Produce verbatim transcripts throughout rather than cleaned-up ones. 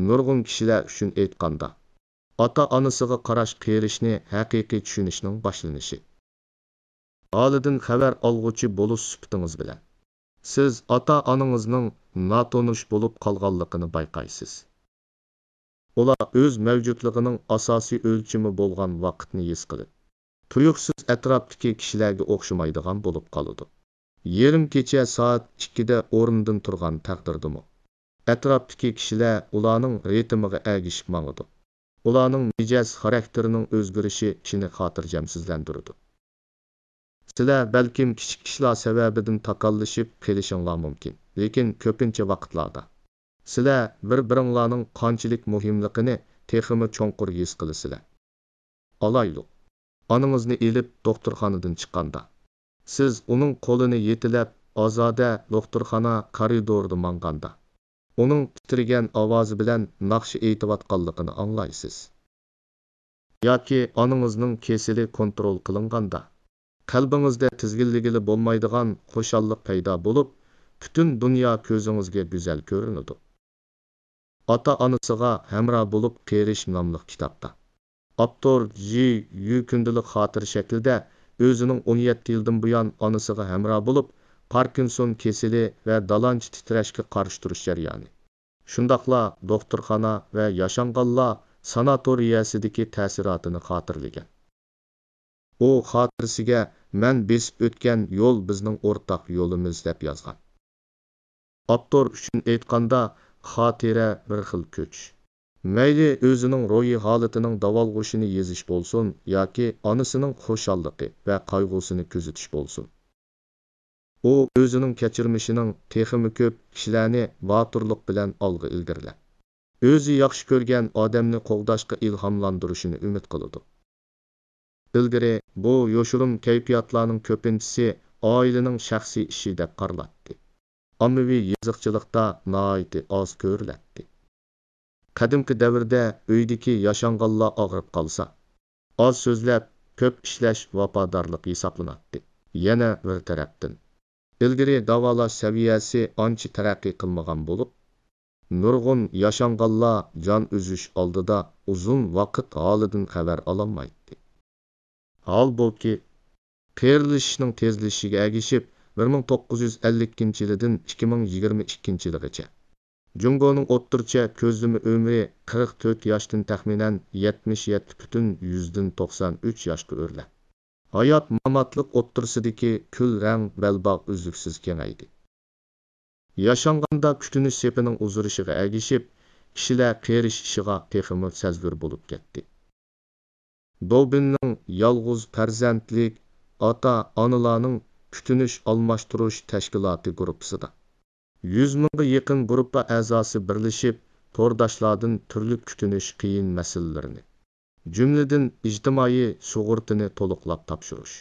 نۇرغۇن كىشىلەر ئۈچۈن ئېيتقاندا، ئاتا-ئانىسىغا قاراش قېرىشنى ھەقىقىي چۈشىنىشنىڭ باشلىنىشى. ھالىدىن خەۋەر ئالغۇچى بولۇش سۈپىتىڭىز بىلەن، سىز ئاتا-ئانىڭىزنىڭ ناتونۇش بولۇپ قالغانلىقىنى بايقايسىز. ئۇلار ئۆز مەۋجۇتلۇقىنىڭ ئاساسىي ئۆلچىمى بولغان ۋاقىتنى ھېس قىلىپ، تۇيۇقسىز ئەتراپتىكى كىشىلەرگە ئوخشىمايدىغان بولۇپ قالىدۇ. يېرىم كېچە سائەت ئىككىدە ئورنىدىن تۇرغان تەقدىردىمۇ، ئەتراپتىكى كىشىلەر ئۇلارنىڭ رىتىمىغا ئەگىشىپ ماڭىدۇ. ئۇلارنىڭ مىجەز خاراكتېرىنىڭ ئۆزگىرىشى كىشىنى خاتىرجەمسىزلەندۈرىدۇ. سىلەر بەلكىم كىچىك ئىشلار سەۋەبىدىن تاكاللىشىپ قېلىشىڭلار مۇمكىن، لېكىن كۆپىنچە ۋاقىتلاردا سىلەر بىر-بىرىڭلارنىڭ قانچىلىك مۇھىملىقىنى تېخىمۇ چوڭقۇر ھېس قىلىسىلەر. ئالايلۇق، ئانىڭىزنى ئېلىپ دوختۇرخانىدىن چىققاندا، سىز ئۇنىڭ قولىنى يېتىلەپ، ئازادە دوختۇرخانا كارىدورىدا ماڭغاندا، ئۇنىڭ تىترىگەن ئاۋازى بىلەن ناخشا ئېيتىۋاتقانلىقىنى ئاڭلايسىز. ياكى ئانىڭىزنىڭ كېسىلى كونترول قىلىنغاندا، قەلبىڭىزدە تىزگىنلىگىلى بولمايدىغان خۇشاللىق پەيدا بولۇپ، پۈتۈن دۇنيا كۆزىڭىزگە گۈزەل كۆرۈنىدۇ. ئاتا-ئانىسىغا ھەمراھ بولۇپ قېرىش ناملىق كىتابتا ئاپتور جى يۈ كۈندىلىك خاتىرە شەكلىدە ئۆزىنىڭ ئون يەتتە يىلدىن بۇيان ئانىسىغا ھەمراھ بولۇپ، پاركىنسون كېسىلى ۋە دالانچە تىترەشكە قارشى تۇرۇش جەريانى، شۇنداقلا دوختۇرخانا ۋە ياشانغانلار ساناتورىيەسىدىكى تەسىراتىنى خاتىرىلىگەن. ئۇ خاتىرىسىگە «مەن بېسىپ ئۆتكەن يول بىزنىڭ ئورتاق يولىمىز» دەپ يازغان. ئاپتور ئۈچۈن ئېيتقاندا، خاتىرە بىر خىل كۆچۈش. مەيلى ئۆزىنىڭ روھىي ھالىتىنىڭ داۋالغۇشىنى يېزىش بولسۇن ياكى ئانىسىنىڭ خۇشاللىقى ۋە قايغۇسىنى كۆزىتىش بولسۇن، ئۇ ئۆزىنىڭ كەچۈرمىشىنىڭ تېخىمۇ كۆپ كىشىلەرنى باتۇرلۇق بىلەن ئالغا ئىلگىرىلەپ، ئۆزى ياخشى كۆرگەن ئادەمنى قوغداشقا ئىلھاملاندۇرۇشىنى ئۈمىد قىلىدۇ. ئىلگىرى بۇ يوشۇرۇن كەيپىياتلارنىڭ كۆپىنچىسى ئائىلىنىڭ شەخسىي ئىشى دەپ قارىلاتتى. ئاممىۋى يېزىقچىلىقتا ناھايىتى ئاز كۆرۈلەتتى. قەدىمكى دەۋردە ئۆيدىكى ياشانغانلار ئاغرىپ قالسا، ئاز سۆزلەپ، كۆپ ئىشلەش ۋاپادارلىق ھېسابلىناتتى. يەنە بىر تەرەپتىن، ئىلگىرى داۋالاش سەۋىيەسى ئانچە تەرەققىي قىلمىغان بولۇپ، نۇرغۇن ياشانغانلار جان ئۈزۈش ئالدىدا ئۇزۇن ۋاقىت ھالىدىن خەۋەر ئالالمايتتى. ھالبۇكى، قېرىلىشىشنىڭ تېزلىشىشىگە ئەگىشىپ، بىر مىڭ توققۇز يۈز ئەللىكىنچى يىلىدىن ئىككى مىڭ يىگىرمە ئىككىنچى يىلىغىچە، جۇڭگونىڭ ئوتتۇرىچە كۆزلىمە ئۆمرى قىرىق تۆت ياشتىن تەخمىنەن يەتمىش يەتتە پۈتۈن يۈزدىن توقسان ئۈچ ياشقا ئۆرلەپ، ھايات-ماماتلىق ئوتتۇرىسىدىكى كۈل رەڭ بەلباغ ئۈزلۈكسىز كېڭەيدى. ياشانغاندا كۈتۈنۈش سېپىنىڭ ئۇزىرىشىغا ئەگىشىپ، كىشىلەر قېرىشىشىغا تېخىمۇ سەزگۈر بولۇپ كەتتى. دوبىننىڭ يالغۇز پەرزەنتلىك ئاتا-ئانىلارنىڭ كۈتۈنۈش ئالماشتۇرۇش تەشكىلاتى گۇرۇپپىسىدا يۈز مىڭغا يېقىن گۇرۇپپا ئەزاسى بىرلىشىپ، تورداشلاردىن تۈرلۈك كۈتۈنۈش قىيىن مەسىلىلىرىنى، جۈملىدىن ئىجتىمائىي سۇغۇرتىنى تولۇقلاپ تاپشۇرۇش،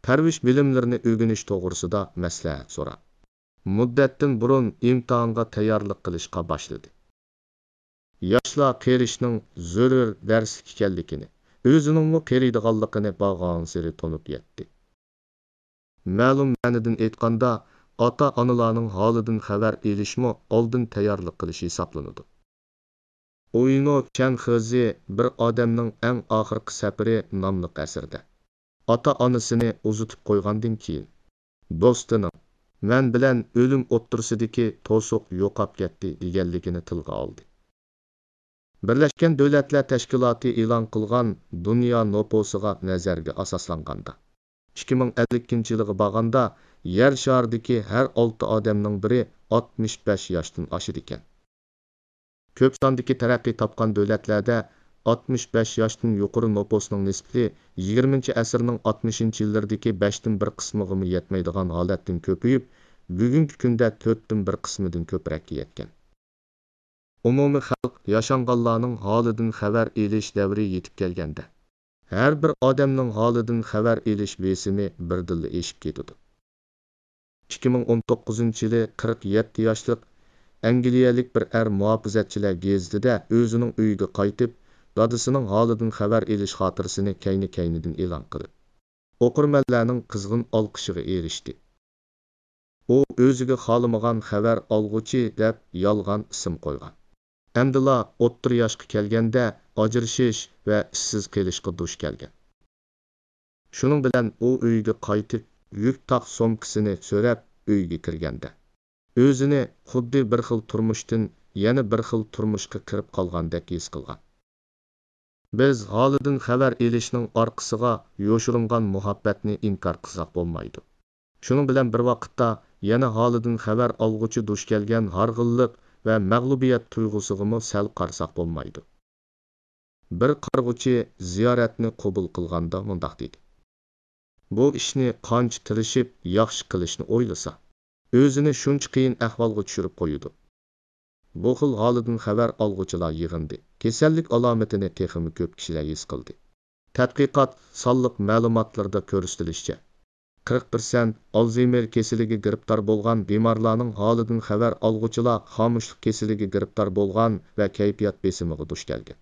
پەرۋىش بىلىملىرىنى ئۆگىنىش توغرىسىدا مەسلىھەت سوراپ، مۇددەتتىن بۇرۇن ئىمتىھانغا تەييارلىق قىلىشقا باشلىدى. ياشلار قېرىشنىڭ زۆرۈر دەرسلىك ئىكەنلىكىنى، ئۆزىنىڭمۇ قېرىيدىغانلىقىنى بارغانسېرى تونۇپ يەتتى. مەلۇم مەنىدىن ئېيتقاندا، ئاتا-ئانىلارنىڭ ھالىدىن خەۋەر ئېلىشمۇ ئالدىن تەييارلىق قىلىش ھېسابلىنىدۇ. ئۇينو چيەنخېزى بىر ئادەمنىڭ ئەڭ ئاخىرقى سەپىرى ناملىق ئەسىرىدە، ئاتا-ئانىسىنى ئۇزىتىپ قويغاندىن كېيىن، دوستىنىڭ «مەن بىلەن ئۆلۈم ئوتتۇرىسىدىكى توسۇق يوقاپ كەتتى» دېگەنلىكىنى تىلغا ئالدى. بىرلەشكەن دۆلەتلەر تەشكىلاتى ئېلان قىلغان دۇنيا نوپۇسىغا نەزەرگە ئاساسلانغاندا، ئىككى مىڭ ئەللىكىنچى يىلىغا بارغاندا، يەر شارىدىكى ھەر ئالتە ئادەمنىڭ بىرى ئاتمىش بەش ياشتىن ئاشىدىكەن. كۆپ ساندىكى تەرەققىي تاپقان دۆلەتلەردە ئاتمىش بەش ياشتىن يۇقىرى نوپۇسنىڭ نىسبىتى يىگىرمىنچى ئەسىرنىڭ ئاتمىشىنچى يىللىرىدىكى بەشتىن بىر قىسمىغىمۇ يەتمەيدىغان ھالەتتىن كۆپىيىپ، بۈگۈنكى كۈندە تۆتتىن بىر قىسمىدىن كۆپرەككە يەتكەن. ئومۇمىي خەلق ياشانغانلارنىڭ ھالىدىن خەۋەر ئېلىش دەۋرى يېتىپ كەلگەندە، ھەر بىر ئادەمنىڭ ھالىدىن خەۋەر ئېلىش بېسىمى بىردىنلا ئېشىپ كېتىدۇ. ئىككى مىڭ ئون توققۇزىنچى يىلى قىرىق يەتتە ياشلىق ئەنگلىيەلىك بىر ئەر مۇھاپىزەتچىلەر گېزىتىدە ئۆزىنىڭ ئۆيىگە قايتىپ، دادىسىنىڭ ھالىدىن خەۋەر ئېلىش خاتىرىسىنى كەينى-كەينىدىن ئېلان قىلىپ، ئوقۇرمەنلەرنىڭ قىزغىن ئالقىشىغا ئېرىشتى. ئۇ ئۆزىگە خالىمىغان خەۋەر ئالغۇچى دەپ يالغان ئىسىم قويغان. ئەمدىلا ئوتتۇرا ياشقا كەلگەندە ئاجرىشىش ۋە ئىشسىز قېلىشقا دۇچ كەلگەن. شۇنىڭ بىلەن ئۇ ئۆيىگە قايتىپ، يۈك تاق سومكىسىنى سۆرەپ ئۆيگە كىرگەندە، ئۆزىنى خۇددى بىر خىل تۇرمۇشتىن يەنە بىر خىل تۇرمۇشقا كىرىپ قالغاندەك ھېس قىلغان. بىز ھالىدىن خەۋەر ئېلىشنىڭ ئارقىسىغا يوشۇرۇنغان مۇھەببەتنى ئىنكار قىلساق بولمايدۇ. شۇنىڭ بىلەن بىر ۋاقىتتا، يەنە ھالىدىن خەۋەر ئالغۇچى دۇچ كەلگەن ھارغىنلىق ۋە مەغلۇبىيەت تۇيغۇسىغىمۇ سەل قارىساق بولمايدۇ. بىر قارىغۇچى زىيارەتنى قوبۇل قىلغاندا مۇنداق دېدى: «بۇ ئىشنى قانچە تىرىشىپ ياخشى قىلىشنى ئويلىسا، ئۆزىنى شۇنچە قىيىن ئەھۋالغا چۈشۈرۈپ قويىدۇ.» بۇ خىل ھالىدىن خەۋەر ئالغۇچىلار يىغىندى. كېسەللىك ئالامىتىنى تېخىمۇ كۆپ كىشىلەر ھېس قىلدى. تەتقىقات سانلىق مەلۇماتلىرىدا كۆرسىتىلىشىچە، قىرىق پىرسەنت ئالزېيمېر كېسىلىگە گىرىپتار بولغان بىمارلارنىڭ ھالىدىن خەۋەر ئالغۇچىلار خامۇشلۇق كېسىلىگە گىرىپتار بولغان ۋە كەيپىيات بېسىمىغا دۇچ كەلگەن.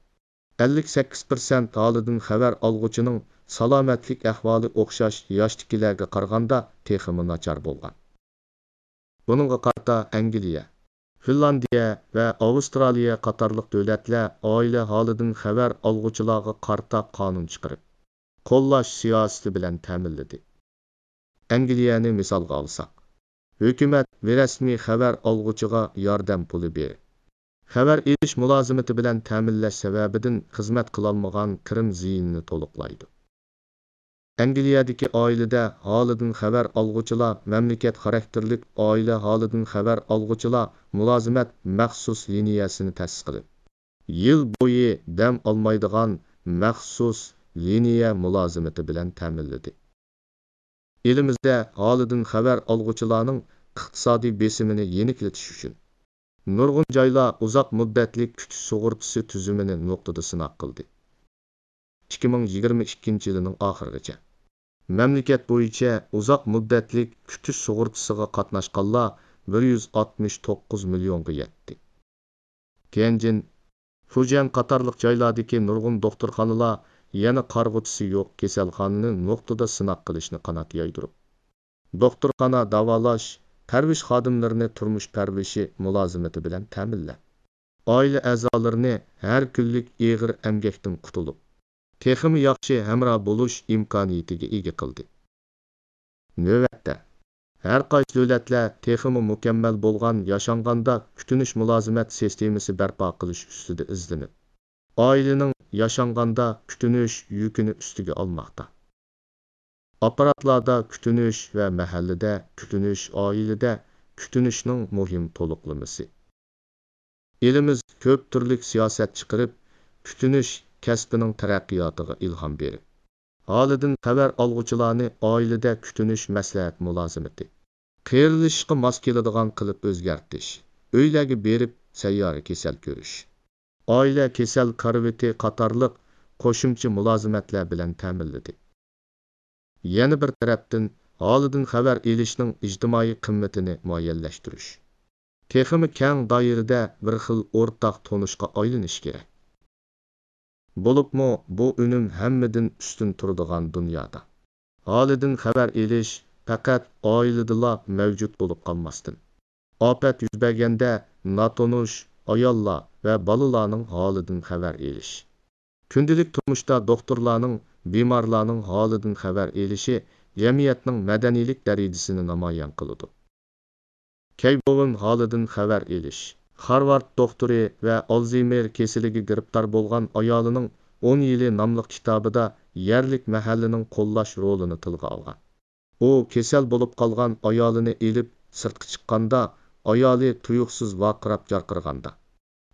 ئەللىك سەككىز پىرسەنت ھالىدىن خەۋەر ئالغۇچىنىڭ سالامەتلىك ئەھۋالى ئوخشاش ياشتىكىلەرگە قارىغاندا تېخىمۇ ناچار بولغان. بۇنىڭغا قارىتا ئەنگلىيە، فىنلاندىيە ۋە ئاۋسترالىيە قاتارلىق دۆلەتلەر ئائىلە ھالىدىن خەۋەر ئالغۇچىلارغا قارىتا قانۇن چىقىرىپ، قوللاش سىياسىتى بىلەن تەمىنلىدى. ئەنگلىيەنى مىسالغا ئالساق، ھۆكۈمەت بىرەسمىي خەۋەر ئالغۇچىغا ياردەم پۇلى بېرىپ، خەۋەر ئېلىش مۇلازىمىتى بىلەن تەمىنلەش سەۋەبىدىن خىزمەت قىلالمىغان كىرىم زىيىنىنى تولۇقلايدۇ. ئەنگلىيەدىكى ئائىلىدە ھالىدىن خەۋەر ئالغۇچىلار مەملىكەت خاراكتېرلىك ئائىلە ھالىدىن خەۋەر ئالغۇچىلار مۇلازىمەت مەخسۇس لىنىيەسىنى تەسىس قىلىپ، يىل بويى دەم ئالمايدىغان مەخسۇس لىنىيە مۇلازىمىتى بىلەن تەمىنلىدى. ئېلىمىزدە ھالىدىن خەۋەر ئالغۇچىلارنىڭ ئىقتىسادىي بېسىمىنى يېنىكلىتىش ئۈچۈن، نۇرغۇن جايلار ئۇزاق مۇددەتلىك كۈتۈش سۇغۇرتىسى تۈزۈمىنى نۇقتىدا سىناق قىلدى. ئىككى مىڭ يىگىرمە ئىككىنچى يىلىنىڭ ئاخىرىغىچە، مەملىكەت بويىچە ئۇزاق مۇددەتلىك كۈتۈش سۇغۇرتىسىغا قاتناشقانلار بىر يۈز ئاتمىش توققۇز مىليونغا يەتتى. تيەنجىن، فۇجيەن قاتارلىق جايلاردىكى نۇرغۇن دوختۇرخانىلار يەنە قارىغۇچىسى يوق كېسەلخانىنى نۇقتىدا سىناق قىلىشنى قانات يايدۇرۇپ، دوختۇرخانا، داۋالاش، پەرۋىش خادىملىرىنى تۇرمۇش پەرۋىشى مۇلازىمىتى بىلەن تەمىنلەپ، ئائىلە ئەزالىرىنى ھەر كۈنلۈك ئېغىر ئەمگەكتىن قۇتۇلۇپ، تېخىمۇ ياخشى ھەمراھ بولۇش ئىمكانىيىتىگە ئىگە قىلدى. نۆۋەتتە، ھەر قايسى دۆلەتلەر تېخىمۇ مۇكەممەل بولغان ياشانغاندا كۈتۈنۈش مۇلازىمەت سىستېمىسى بەرپا قىلىش ئۈستىدە ئىزدىنىپ، ئائىلىنىڭ ياشانغاندا كۈتۈنۈش يۈكىنى ئۈستىگە ئالماقتا. ئاپپاراتلاردا كۈتۈنۈش ۋە مەھەللىدە كۈتۈنۈش، ئائىلىدە كۈتۈنۈشنىڭ مۇھىم تولۇقلىمىسى. ئېلىمىز كۆپ تۈرلۈك سىياسەت چىقىرىپ، كۈتۈنۈش كەسپىنىڭ تەرەققىياتىغا ئىلھام بېرىپ، ھالىدىن خەۋەر ئالغۇچىلارنى ئائىلىدە كۈتۈنۈش مەسلىھەت مۇلازىمىتى، قېرىلىشىشقا ماس كېلىدىغان قىلىپ ئۆزگەرتىش، ئۆيلەرگە بېرىپ سەييارە كېسەل كۆرۈش، ئائىلە كېسەل كارىۋىتى قاتارلىق قوشۇمچە مۇلازىمەتلەر بىلەن تەمىنلىدى. يەنە بىر تەرەپتىن، ھالىدىن خەۋەر ئېلىشنىڭ ئىجتىمائىي قىممىتىنى مۇئەييەنلەشتۈرۈش، تېخىمۇ كەڭ دائىرىدە بىر خىل ئورتاق تونۇشقا ئايلىنىشى كېرەك. بولۇپمۇ بۇ ئۈنۈم ھەممىدىن ئۈستۈن تۇرىدىغان دۇنيادا، ھالىدىن خەۋەر ئېلىش پەقەت ئائىلىدىلا مەۋجۇت بولۇپ قالماستىن، ئاپەت يۈز بەرگەندە ناتونۇش ئاياللار ۋە بالىلارنىڭ ھالىدىن خەۋەر ئېلىش، كۈندىلىك تۇرمۇشتا دوختۇرلارنىڭ بىمارلارنىڭ ھالىدىن خەۋەر ئېلىشى جەمئىيەتنىڭ مەدەنىيلىك دەرىجىسىنى نامايان قىلىدۇ. كەي بوۋېن ھالىدىن خەۋەر ئېلىش. خارۋارد دوختۇرى ۋە ئالزېيمېر كېسىلىگە گىرىپتار بولغان ئايالىنىڭ ئون يىلى ناملىق كىتابىدا يەرلىك مەھەللىنىڭ قوللاش رولىنى تىلغا ئالغان. ئۇ كېسەل بولۇپ قالغان ئايالىنى ئېلىپ سىرتقا چىققاندا، ئايالى تۇيۇقسىز ۋارقىراپ جارقىرىغاندا،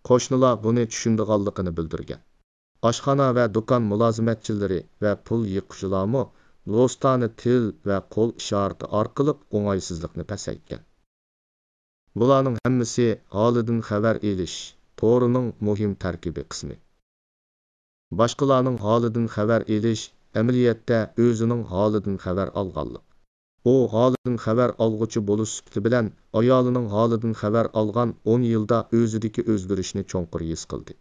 قوشنىلار بۇنى چۈشىنىدىغانلىقىنى بىلدۈرگەن. ئاشخانا ۋە دۇكان مۇلازىمەتچىلىرى ۋە پۇل يىغقۇچىلارمۇ دوستانە تىل ۋە قول ئىشارىتى ئارقىلىق ئوڭايسىزلىقنى پەسەيتكەن. بۇلارنىڭ ھەممىسى ھالىدىن خەۋەر ئېلىش تورىنىڭ مۇھىم تەركىبىي قىسمى. باشقىلارنىڭ ھالىدىن خەۋەر ئېلىش ئەمەلىيەتتە ئۆزىنىڭ ھالىدىن خەۋەر ئالغانلىق. ئۇ ھالىدىن خەۋەر ئالغۇچى بولۇش سۈپىتى بىلەن ئايالىنىڭ ھالىدىن خەۋەر ئالغان ئون يىلدا ئۆزىدىكى ئۆزگىرىشنى چوڭقۇر ھېس قىلدى.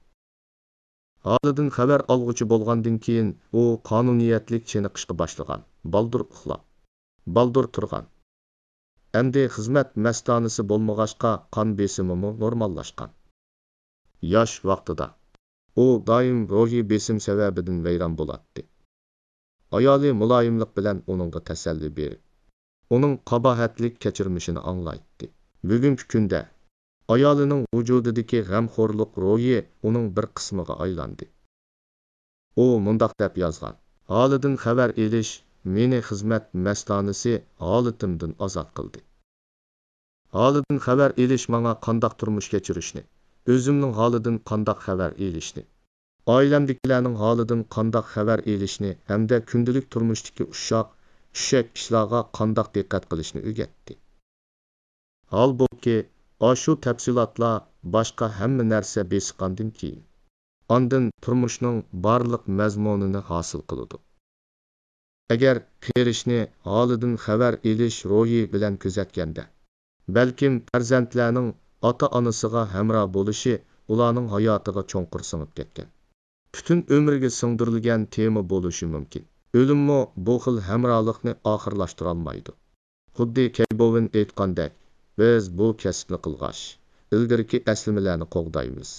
ھالىدىن خەۋەر ئالغۇچى بولغاندىن كېيىن، ئۇ قانۇنىيەتلىك چېنىقىشقا باشلىغان، بالدۇر ئۇخلاپ، بالدۇر تۇرغان. ئەمدى خىزمەت مەستانىسى بولمىغاچقا، قان بېسىمىمۇ نورماللاشقان. ياش ۋاقتىدا ئۇ دائىم روھىي بېسىم سەۋەبىدىن ۋەيران بولاتتى. ئايالى مۇلايىملىق بىلەن ئۇنىڭغا تەسەللى بېرىپ، ئۇنىڭ قاباھەتلىك كەچۈرمىشىنى ئاڭلايتتى. بۈگۈنكى كۈندە ئايالىنىڭ ۋۇجۇدىدىكى غەمخورلۇق روھى ئۇنىڭ بىر قىسمىغا ئايلاندى. ئۇ مۇنداق دەپ يازغان: «ھالىدىن خەۋەر ئېلىش مېنى خىزمەت مەستانىسى ھالىتىمدىن ئازاد قىلدى. ھالىدىن خەۋەر ئېلىش ماڭا قانداق تۇرمۇش كەچۈرۈشنى، ئۆزۈمنىڭ ھالىدىن قانداق خەۋەر ئېلىشنى، ئائىلەمدىكىلەرنىڭ ھالىدىن قانداق خەۋەر ئېلىشنى ھەمدە كۈندىلىك تۇرمۇشتىكى ئۇششاق، چۈشەك ئىشلارغا قانداق دىققەت قىلىشنى ئۆگەتتى.» ھالبۇكى، ئاشۇ تەپسىلاتلار باشقا ھەممە نەرسە بېسىققاندىن كېيىن، ئاندىن تۇرمۇشنىڭ بارلىق مەزمۇنىنى ھاسىل قىلىدۇ. ئەگەر قېرىشنى ھالىدىن خەۋەر ئېلىش روھى بىلەن كۆزەتكەندە، بەلكىم پەرزەنتلەرنىڭ ئاتا-ئانىسىغا ھەمراھ بولۇشى ئۇلارنىڭ ھاياتىغا چوڭقۇر سىڭىپ كەتكەن، پۈتۈن ئۆمرىگە سىڭدۈرۈلگەن تېما بولۇشى مۇمكىن. ئۆلۈممۇ بۇ خىل ھەمراھلىقنى ئاخىرلاشتۇرالمايدۇ. خۇددى كەيبوۋېن ئېيتقاندەك، بىز بۇ كەسىپنى قىلغاچ، ئىلگىرىكى ئەسلىمىلەرنى قوغدايمىز.